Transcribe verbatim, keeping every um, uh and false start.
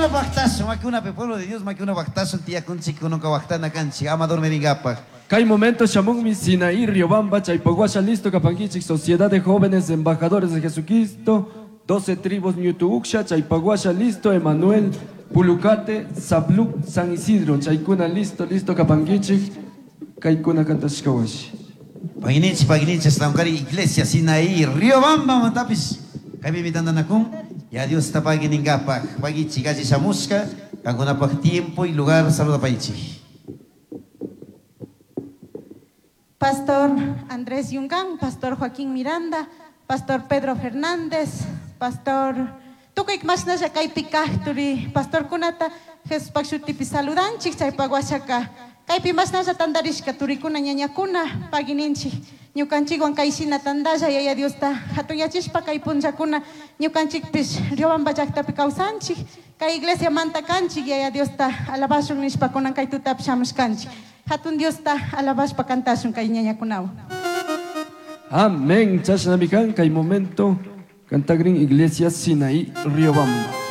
Makikuna waqtasun, makikunapi pueblo de Dios, makikuna waqtasun, tiyakunchik kununka waqtana kanchik, ama dormiringapaq. Kay momento shamunmi Sinaí, Riobamba, Chaypaguasha, listo kapankichik, Sociedad de Jóvenes Embajadores de Jesucristo, doce tribus Ñutuuksha, Chaypaguasha, listo, Emanuel, Pulucate, Zabluc, San Isidro, Chaykuna, listo, listo kapankichik, kaykuna kantashkawashi. Pagininchik, pagininchik, Estancari, Iglesia, Sinaí, Riobamba, mantapis, kaypi mitandanakun, ya Dios está paginingapak, pagichik, alli shamushka, kankunapaq tiempo y lugar, saluda pagichik. Pastor Andrés Yungán, Pastor Joaquín Miranda, Pastor Pedro Fernández, Pastor Tukuy mashnalla kaypi kaq turi Pastor kunata Jesuspaq shutipi saludanchik chaypaq washaka kaypi mashnalla tantarishka turikuna ñañakuna pagininchik ñukanchikwan kayshina tantalla Yaya Diosta hatunyachishpa kay punllakuna ñukanchikpish Riobamba llaqtapi kawsanchik kay iglesia manta kanchik Yaya Diosta alabashun nishpa kunan kay tutapi shamushkanchik. Hatun Diosta alabashpa kantashun kay ñañakunawan. Amén. Chashnami kan kay momento cantagrin Iglesia Sinaí Riobamba.